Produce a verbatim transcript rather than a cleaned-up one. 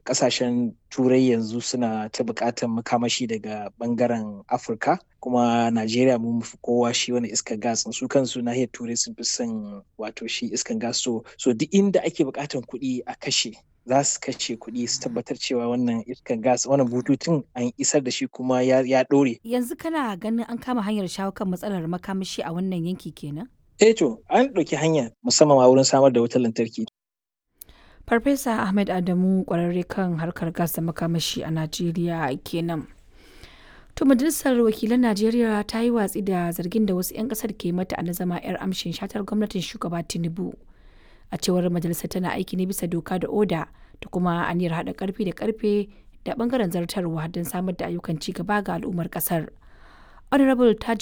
Kasashen Turai yanzu suna ta buƙatar makamashi daga bangaren Afirka, kuma Najeriya mun fi kowa shi wani iskar gas. Su kansu nahiyar Turai sun fi son wato shi iskar gas. So, so duk inda ake buƙatar kuɗi a kashe, za su kashe kuɗi su tabbatar cewa wannan iskar gas, wannan bututun an isar da shi kuma ya, ya ɗore. Yanzu kana ganin an kama hanyar shawo kan matsalar makamashi a wannan yanki kenan? Eh to, an ɗauki hanya musamman ma wurin samar da wutar lantarki. Farfesa Ahmed Adamu, kwararre kan harkar gas da makamashi a Najeriya kenan. To, Majalisar Wakilan Najeriya ta yi watsi da zargin da wasu 'yan kasar ke mata na zama 'yar amshin shatar gwamnatin shugaba Tinubu. A cewar majalisar, tana aiki ne bisa doka da oda da kuma aniyar haɗa karfi da karfe da bangaren zartarwa don samar da ayyukan ci gaba ga al'ummar kasar. Honorable Tajuddin